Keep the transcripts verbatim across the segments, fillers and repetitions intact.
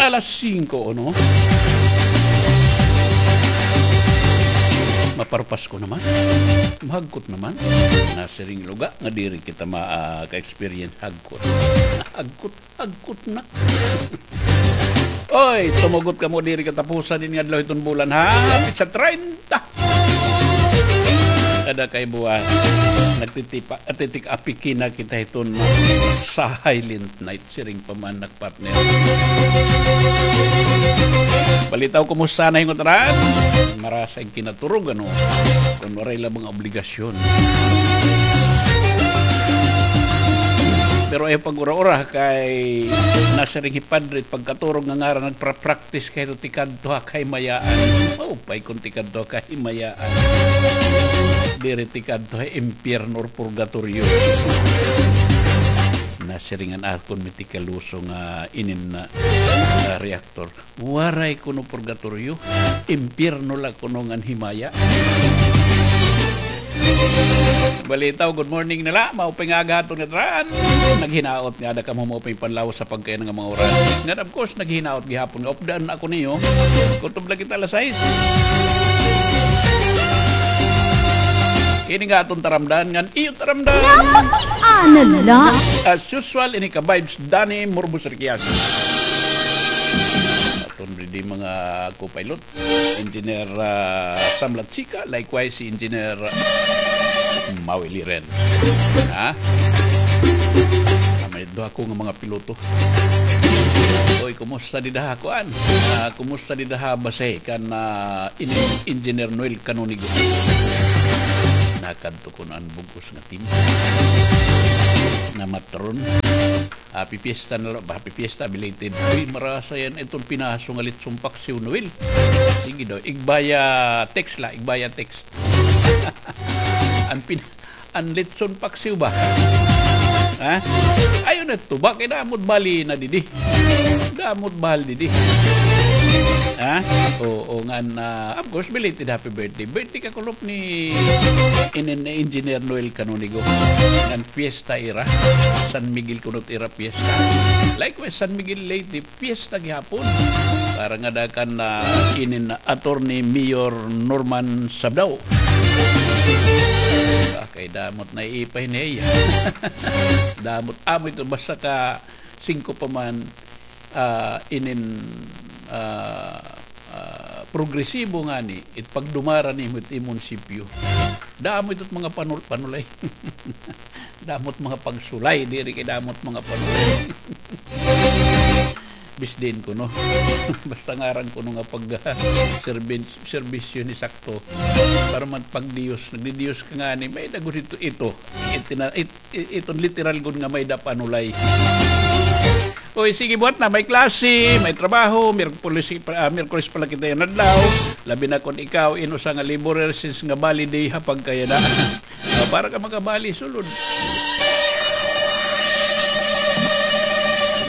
Alas singko, ano? Maparpasko naman. Mahagkot naman. Nasiring luga nga diri kita ma-, ah, ka-experience hagkot. Hagkot, hagkot na. Oy, tumugot kamo diri katapusan ini nga adlaw hiton bulan, ha? Petsa treinta. Kada kay buwas, nagtitipa-, nagtitik-apiki na kita hiton Sahay Lent Night. Siring pa man ak, partner. Balitaw, kumusta na hin ngatanan? Marasa hin kinaturog, ano? Kun waray la mga obligasyon. Pero ayaw pag-ura-ura kay nasiring hi Padre, pagkaturog nga ngaran, nagpra-practice kay tikadto ha kahimayaan. Maupay kun tikadto ha kahimayaan. Diri tikadto ha impyerno or purgatoryo. Nasiring an akon mitikaluso nga inin na, ah, reactor. Waray kuno purgatoryo. Impyerno la kuno ngan himaya. Balitaw, good morning na la. Maupay nga aga ha aton ngatanan. Naghinaot nga ada kamo maupay panlawas ha pagkaiyan nga mga oras. Ngan, of course, naghinaot gihapon nga updaan ako niyo. Kutob la kita alas sais. Ini nga aton taramdan, ngan iyo taramdan. Napakiana la. As usual, ini ka vibes, Danny Murbos Riquias. Aton ready mga co-pilot. Engineer, ah, Sam Lachica, likewise si Engineer, ah, Maui Liren. Ha? Ah, may duha ko nga mga piloto. Oy, kumusta dida ha kuan? Ah, kumusta dida ha base kan, ah, in-, Engineer Noel Canonigo? Nakadto kuno an bug-os nga team. Namatron. Happy Fiesta na la, Happy Fiesta, belated. Uy, marasa yan iton pinaso nga litson paksiw, Noel. Sige daw, igbaya text la, igbaya text. An pin-, an litson paksiw ba? Ha? Ayaw na tuba, kay damo it bali na didi. Damo it bali didi. Ha? Oo, ngan, ah, of course, belated happy birthday. Birthday kakulop ni inin Engineer Noel Canonigo. Ngan fiesta ira. San Miguel kuno it ira fiesta. Likewise, San Miguel Leyte, fiesta gihapon. Para nga ada kan, ah, inin Attorney Mayor Norman Sabdao. Ah, kay damo it naiipa hini. Damo it, amo ito, basta ka singko pa man, ah, inin, ah, ah, progresibo ngani, it pagdumara nimo it munisipyo. Damo ito it mga panul-, panulay. Damo it mga pagsulay, diri kay damo it mga panulay. Bisdin kuno. Basta ngaran kuno nga pag, ah, serbin-, serbisyo ni sakto. Para man pagdiyos, nagdidiyos ka ngani, may-ada gud ito, ito. Itina-, it-, i-, iton literal gud nga may-ada panulay. Uy, sige, buhat na. May klase, may trabaho, Miyerkules, ah, Miyerkules pa la kita yana adlaw. Labi na kon ikaw, in usa nga laborer, since nga bali day ha pagkayana. Ah, para ka makabali, sulod.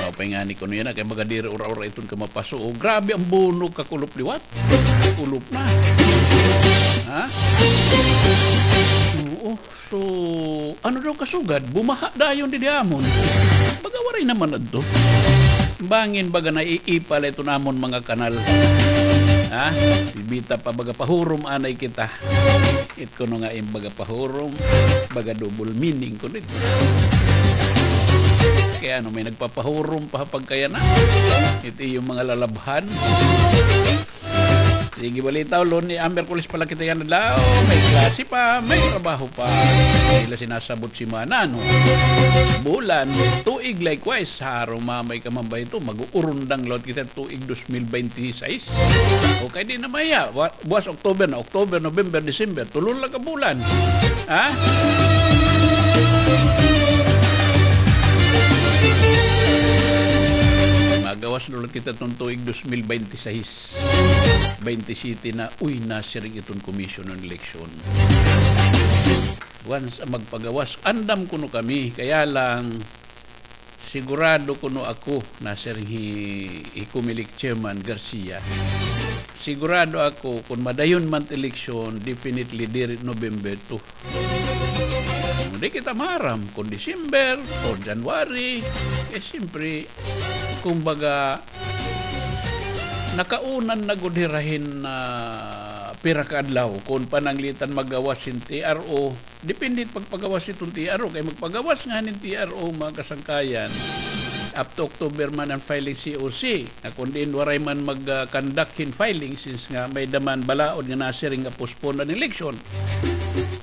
Maupay ngani kuno yana, kay baga diri ura-ura iton ka mapasuo. Grabe an bunog kakulop liwat. Kulop na. Ha? Oo. So, ano daw kasugad? Bumaha dayon didi ha amon. Baga waray naman adto. Bangin baga naiipa la iton amon mga kanal. Ha? Bibita pa baga pahurom anay kita. It kuno nga im baga pahurom, baga double meaning kuno it. Kay ano, may nagpapahurom pa ha pagkayana? It iyo mga lalabhan. Sige, balitaw, Luni-, ah, Miyerkules pa la kita yana adlaw. May klase pa, may trabaho pa. Diri la sinasabot semana, no? Bulan, tuig, likewise. Haro mamay ka man ba ito? Mag-uurundang liwat kita tuig dos mil bente seis. Okay, di na maya. Wa-, buwas October na, October, November, December. Tulo la ka bulan. Ha? Magawas na liwat kita iton tuig dos mil bente seis. Bente siyete na, uy, nasiring iton Commission on Election. Once, ah, magpagawas, andam kuno kami, kaya lang, sigurado kuno ako, nasiring hi, hi Comelec Chairman Garcia, sigurado ako, kon madayon man it eleksyon, definitely diri November two. Di kita maaram kon December or January, eh, siyempre, kumbaga, Nakaunan na gud hira hin, ah, pira ka adlaw kon pananglitan maggawas hin T R O. Depende pagpagawas hiton T R O, kay magpagawas nga hin T R O, mga kasangkayan, up to October man an filing C O C. Nga kon diin waray man mag, ah, conduct hin filing since nga may-ada man balaod nga nasiring nga postpone an election.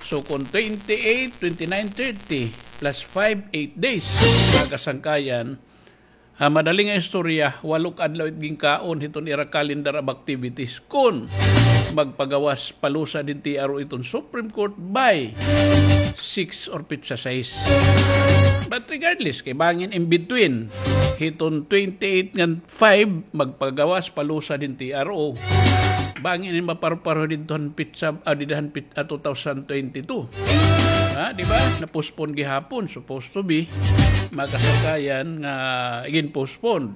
So kon twenty-eight, twenty-nine, thirty plus five, eight days, mga kasangkayan, ha madali nga istorya, walo ka adlaw it ginkaon hiton ira calendar of activities kon magpagawas palusad hin T R O hiton Supreme Court by six or petsa sais. But regardless, kay bangin in between hiton twenty-eight ngan five, magpagawas palusad hin T R O. Bangin in maparuparuho didto han petsa, ah, dida han pet-, ah, two thousand twenty-two. Ha, di ba? Na-postpone gihapon, supposed to be, mga kasangkayan, nga igin-postpone.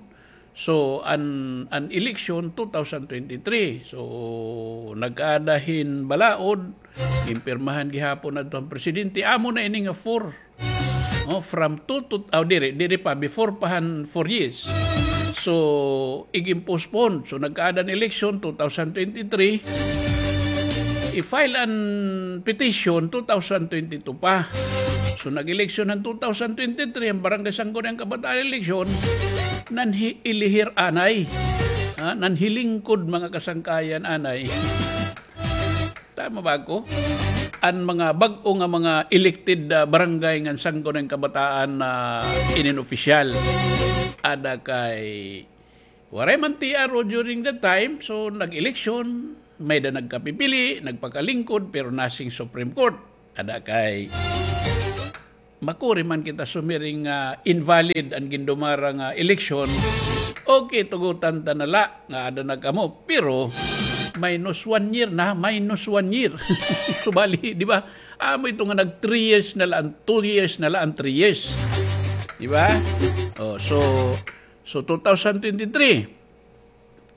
So, an, an election, two thousand twenty-three. So, nag-aada hin balaod, ginpirmahan gihapon adto han presidente. Amo na ini nga four. Oh, from two to, oh, diri, diri pa, before pa han four years. So, igin-postpone. So, nagkaada an election, two thousand twenty-three. I-file an petition, two thousand twenty-two pa. So, nag-election han two thousand twenty-three, an Barangay Sangguniang Kabataan election, nanhi-, ilihir anay. Ha? Nanhilingkod, mga kasangkayan, anay. Tama ba ako? An mga bag-o nga mga elected, ah, barangay ngan Sangguniang Kabataan na inin opisyal. Ada kay waray man T R O during that time, so nag-eleksyon, may-ada nagkapipili, nagpakalingkod, pero nothing Supreme Court. Ada kay makuri man kita sumiring nga invalid an gindumara nga eleksyon, okay, tugutan ta na la nga ada na kamo, pero minus one year na, minus one year. Subali, di ba? Amo ito nga nag three years na la, an two years na la, an three years. Di ba? Oh, so, so two thousand twenty-three,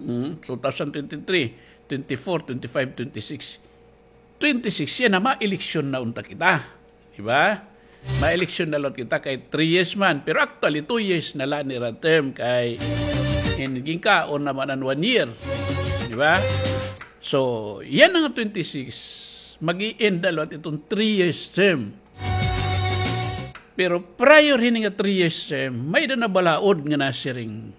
Mm, two thousand twenty-three, twenty-four, twenty-five, twenty-six. Twenty-six, yana, ma-eleksyon na unta kita. Di ba? Ma-eleksyon na liwat kita kay three years man. Pero actually, two years na la nira term kay in-, ginkaon naman an one year. Di ba? So, yana nga twenty-six, mag-i-end na liwat iton three years term. Pero prior hini nga three years term, may-ada na balaod nga nasiring.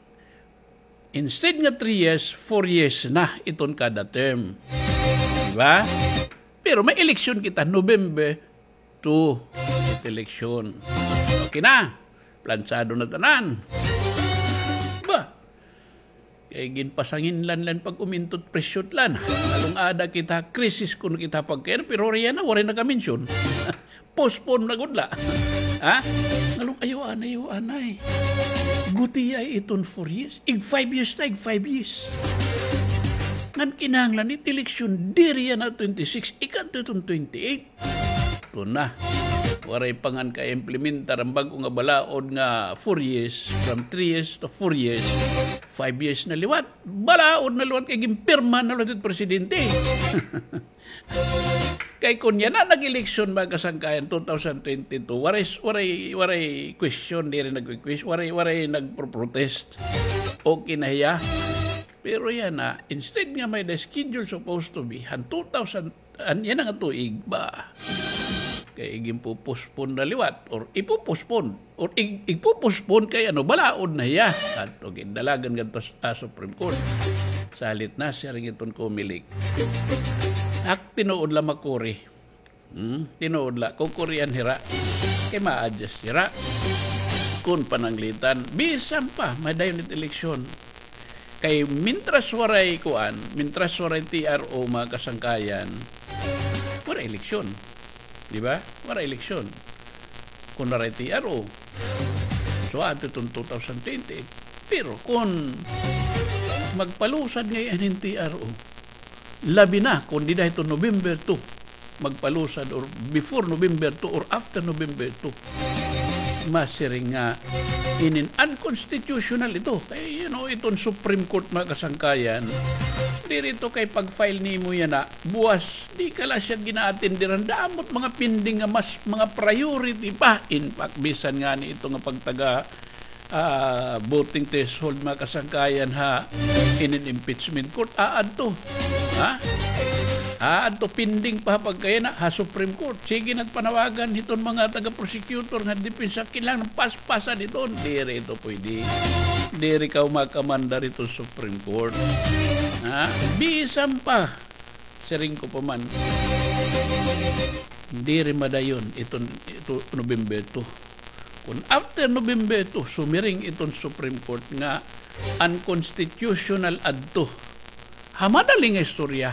Instead nga three years, four years na iton kada term. Di ba? Pero may eleksyon kita, November two, eleksyon. Okay na. Plansado na tanan. Ba? Kay ginpasanginlan la an pag-umintot presyo la. Nalung-ada kita, krisis kuno kita pagkain, pero riyan na, waray nakaminsyon. Postpone na gud la. Ha? Ngalong, ayaw anay, ayaw anay. Gutiay iton four years. Ig five years ta, ig five years. Ngan kinahanglan it eleksyon diri yana twenty-six, ikadto iton twenty-eight. Ito na. Waray pa ngan ka-implementar an bag-o nga balaod nga four years, from three years to four years. Five years na liwat. Balaod na liwat kay ginpirma na liwat it presidente. Kay kon yana nag-eleksyon, mga kasangkayan, two thousand twenty-two, waray, waray, waray question, diri nag-request, waray, waray nagpro-protest. Okay na hiya. Pero yana, instead nga may the schedule supposed to be, han two thousand, an yana nga tuig ba? Kay ginpo-postpone na liwat, or ipo-postpone. Or ig-, igpo-postpone kay ano, balaod na hiya. Adto gindalagan ngadto sa, ah, Supreme Court. Salit na siring iton Comelec. Ak tinuod la makuri. Hmm? Tinuod la, kukurian hira. Kay ma-adjust hira. Kon pananglitan, bisan pa, madayon it eleksyon. Kay mintras waray kuan, mintras waray T R O, mga kasangkayan, waray eleksyon. Di ba? Waray eleksyon. Kon waray T R O, so adto iton two thousand twenty. Pero kon magpalusad ngay-an hin T R O, labi na kon dida hiton November two, magpalusad or before November two or after November two. Masiring nga inin unconstitutional ito. Kay, you know, iton Supreme Court, mga kasangkayan, diri ito kay pag-file nimo yana, buwas, di ka la siya gina-attenderan. Damo it mga pending nga mas mga priority pa. In fact, bisan ngani ito nga pagtaga ah, voting threshold, mga kasangkayan, ha, inin impeachment court, aadto. Ha? Aadto, pending pa pagkayana ha Supreme Court. Sige na't panawagan hiton mga taga-prosecutor nga depensa, kinahanglan paspasan hiton. Diri ito pwede. Diri ka makamandar hiton Supreme Court. Ha? Bisan pa, siring ko pa man, diri madayon iton, ito, November two. Kun after November two, sumiring iton Supreme Court nga unconstitutional adto, ha madali nga istorya,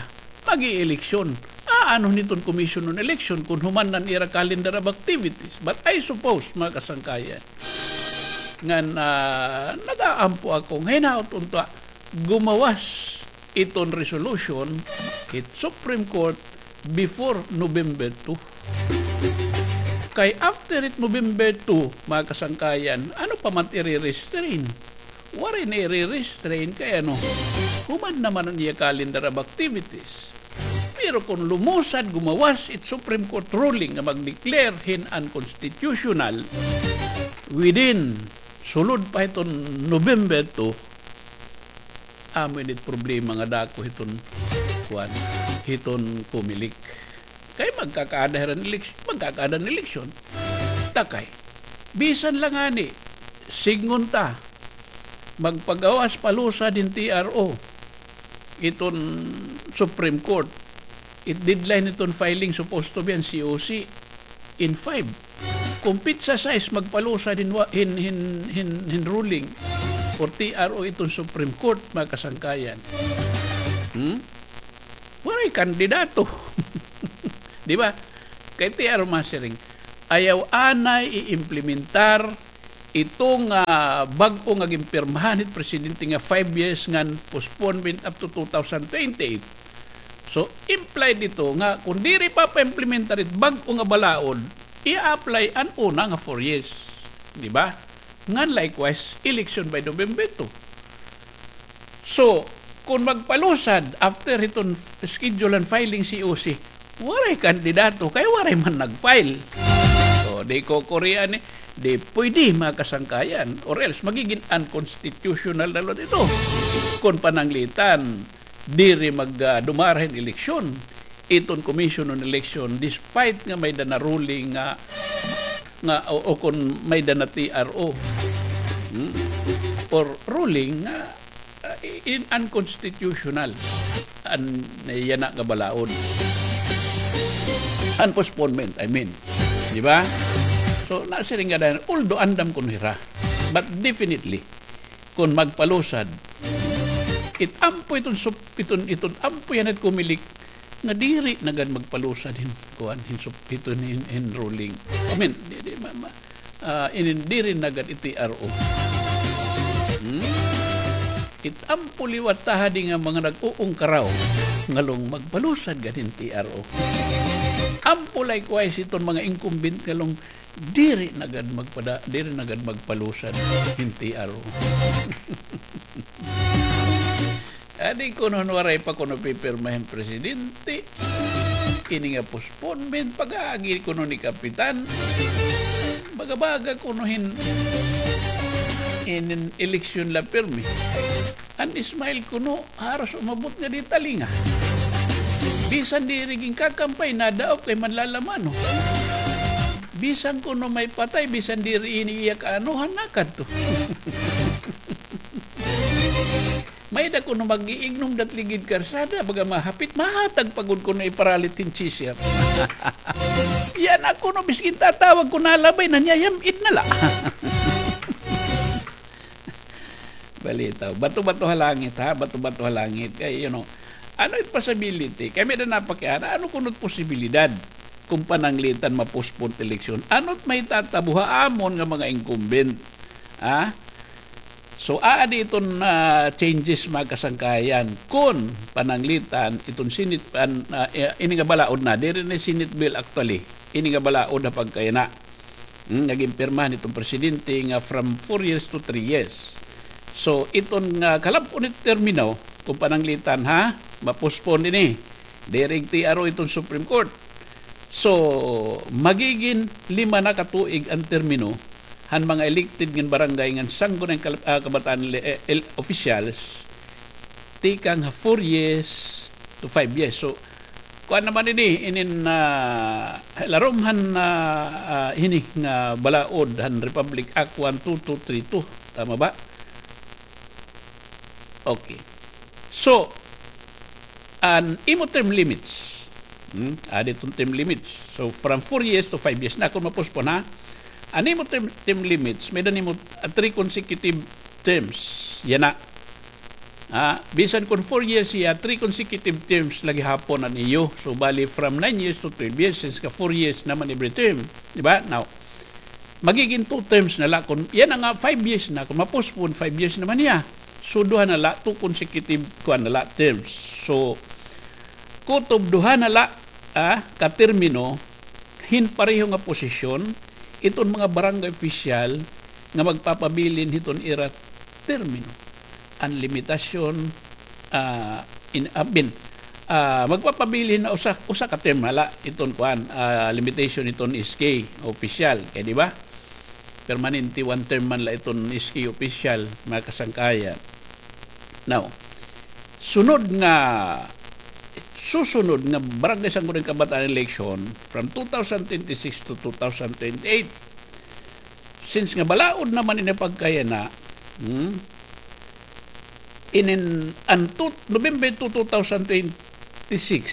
mag-ieleksyon. Aanhon hiton Commission on Election kun human na an ira calendar of activities. But I suppose, mga kasangkayan, ngan, ah, nag-aampo ako nga hinaot unta gumawas iton resolution hit Supreme Court before November two. Kay after it November two, mga kasangkayan, ano pa man it ire-restrain? Waray na ire-restrain kay ano, human naman an iya calendar of activities. Pero kun lumusad, gumawas it Supreme Court ruling nga mag-declare hin unconstitutional within, sulod pa hiton November two, amo ini it problema nga dako hiton, kuan, hiton Comelec. Kay magkakaada hira hin eleks-, magkakaada hin eleksyon. Takay. Bisan la ngani, sidngon ta, magpagawas palusad hin T R O iton Supreme Court. It deadline hiton filing supposed to be an C O C in five. Kun pitsa sais magpalusad hin wa-, hin, hin, hin, hin ruling or T R O iton Supreme Court, mga kasangkayan. Hmm? Waray kandidato. Di ba? Kay T R O masiring, ayaw anay i-implementar iton, ah, bag-o nga ginpirmahan hit presidente nga five years ngan postponement up to two thousand twenty-eight. So, implied ito nga kun diri pa pa-implementar it bag-o nga balaod, i-apply an una nga four years. Di ba? Ngan likewise, election by November two. So, kun magpalusad after hiton schedule an filing C O C, waray kandidato kay waray man nag-file. So, di ko kurian ni, di pwede, mga kasangkayan, or else magiging unconstitutional na liwat ito. Kun pananglitan, diri mag, ah, dumara hin eleksyon iton Commission on Election, despite nga may-ada na ruling nga, nga, o, o kun may-ada na T R O, hmm? Or ruling nga, ah, i-, in unconstitutional an yana nga balaod. An postponement, I mean. Di ba? So, nasiring nga dayon, although andam kuno hira, but definitely, kun magpalusad, it ampo iton sup-, iton, iton ampo yana it Comelec nga diri na gad magpalusad hin kuan, hin sup-, iton hin, hin ruling. I mean, di, di, ma-, ma-, ah, inin diri na gad it T R O. Hmm? It ampo liwat ta hadi nga mga nag-uungkaraw ngalong magpalusad gad hin T R O. Ampo likewise iton mga incumbent ngalong diri na gad magpada-, diri na gad magpalusad hin T R O. Adi kuno waray pa kuno pipirma hin presidente. Ini nga postponement, pag-aagi kuno ni Kapitan. Baga-baga kuno hin, inin eleksyon la pirmi. An smile kuno, haros umabot ngadi talinga. Bisan diri ginkakampay, nadaop kay manlalamano. Bisan kuno may patay, bisan diri ini iya kaanuhan, nakadto. May-ada kuno mag-iignom dat ligid karsada, baga mahapit, mahatag pa gud kuno iparalit hin chaser. Yana kuno, biskin tatawag kuno, nalabay na niya, yam-id na la. Balitaw. Bato-bato ha langit, ha? Bato-bato ha langit. Kay, you know, ano it possibility? Kay may-ada napakiana, ano kuno it posibilidad kun pananglitan ma-postpone eleksyon? Ano it mahitatabo ha amon nga mga incumbent? Ha? So, aadi iton, ah, changes, mga kasangkayan. Kun pananglitan, iton Senate, an, ah, eh, ini nga balaod na, diri na Senate bill actually. Ini nga balaod ha pagkayana. Hmm, nga ginpirmahan iton presidente nga from four years to three years. So, iton nga kalab-on it termino, kun pananglitan ha, ma-postpone ini. Diri T R O iton Supreme Court. So, magigin lima na ka tuig an termino han mga elected ngan barangay ngan sangguniang kal-, ah, kabataan le-, eh, el-, officials, tikang ha four years to five years. So, kuan naman ini, inin, ah, larom han, ah, ah, hini nga balaod han Republic Act one two two three two. Tama ba? Okay. So, an imo term limits. Hmm? Adi iton term limits. So, from four years to five years na kon ma-postpone, ha? An imo term, term limits, may-ada nimo, ah, three consecutive terms. Yana. Ah, bisan kon four years hiya, three consecutive terms la gihapon an iyo. So, bali, from nine years to twelve years, since ka four years naman every term. Di ba? Now, magiging two terms na la. Kon yana nga five years na, kon ma-postpone, five years naman hiya. So, duha na la, two consecutive, kuan na la, terms. So, kutob duha na la, ah, ka termino, hin pareho nga posisyon, iton mga barangay official nga magpapabilin hiton ira termino. An limitasyon, ah, in, ah, bin, ah, magpapabilin na usa, usa ka term na la iton kuan, ah, limitation iton S K official, kay di ba? Permanente one term man la iton S K official, mga kasangkayan. Now, sunod nga, susunod nga Barangay Sangguniang Kabataan election from two thousand twenty-six to two thousand twenty-eight, since nga balaod naman ini pagkayana, hmm? Inin, an tut-, November two, two thousand twenty-six,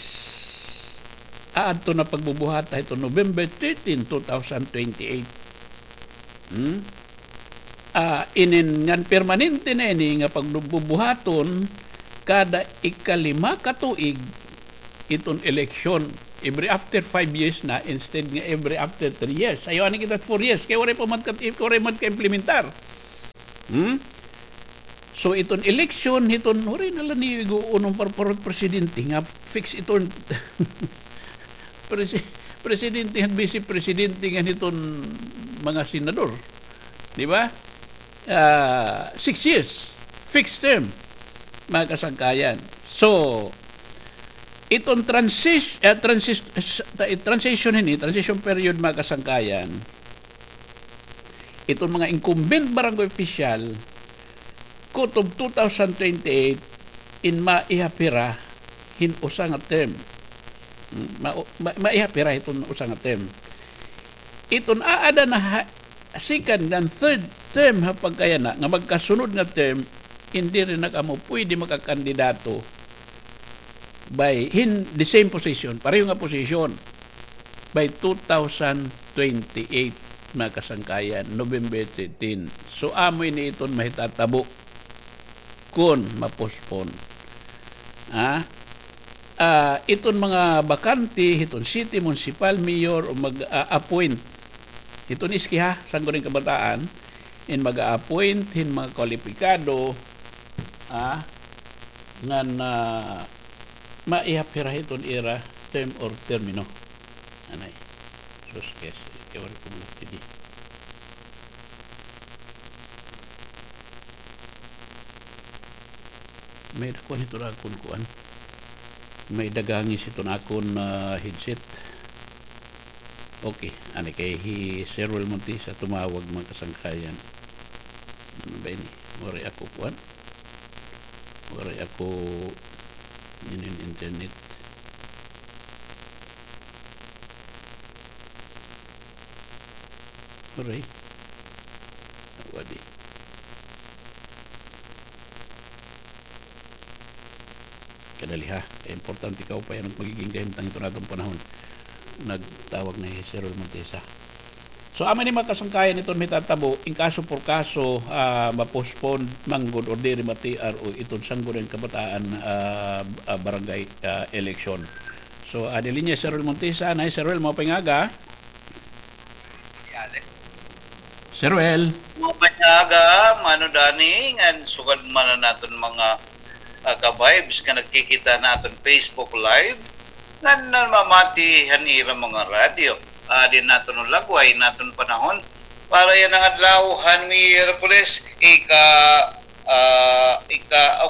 aadto na pagbubuhata hito November thirteen, two thousand twenty-eight. Hmm? Ah, inin ngan permanente na ini nga pagbubuhaton kada ikalima ka tuig iton eleksyon. Every after five years na instead nga every after three years. Ayaw ani kita four years. Kay waray pa man ka, waray man ka-implementar. Hmm? So, iton eleksyon, hiton, waray na la niyo ig-uunong par-, par-, presidente nga fix iton presi-, presidente ngan vice presidente ngan hiton mga senador. Di ba? Ah, six years, fixed term, mga kasangkayan. So, iton transis-, eh, transis-, s-, ta-, transition ini, transition period, mga kasangkayan, iton mga incumbent barangay official, kutob two thousand twenty-eight, in maihap hira hin usa nga term. Hmm, ma-, ma-, maihap hira hiton usa nga term. Iton aada na ha-, second and third term ha pagkayana nga magkasunod nga term, in diri na kamo pwede makakandidato by hin the same position, pareho nga posisyon, by two thousand twenty-eight, mga kasangkayan, November thirteen. So, amo ini iton mahitatabo kon ma-postpone. Ah, ah, iton mga bakante hiton city, municipal, mayor, o mag-a-appoint hiton S K ha, Sangguniang Kabataan, in mag-a-appoint hin mga kwalipikado, ah, ngan, ah, maihap hira hiton ira term or termino. Anay. Sus, guys, kay waray ko mga pidi. May kuan hiton akon kuan. May dagangis hiton akon, ah, headset. Okay, ani kay hi Sir Wel Montesa tumawag, mga kasangkayan. Ano ba ini? Waray ako kuan. Waray ako inin internet. Waray. Wadi. Kadali ha. Kay importante kaupay an magiging kahimtang hiton aton panahon. Nagtawag na hi Sir Wel Montesa. So, amo ini mga kasangkayan iton mahitatabo, in kaso por kaso, ah, ma-postpone man gud or diri ma-T R O iton Sangguniang Kabataan, ah, ah, barangay, ah, election. So, adi linya Sir Wel Montesa, anay Sir Wel, maupay nga aga. Sir Wel. Maupay nga aga, Mano Danny, ngan sugad man an aton mga, ah, ka-vibes nga nagkikita han aton Facebook Live, ngan namamati han ira mga radyo. Adi an aton lagway, an aton panahon. Para yana nga adlaw han Miyerkules, ika, ah, ika,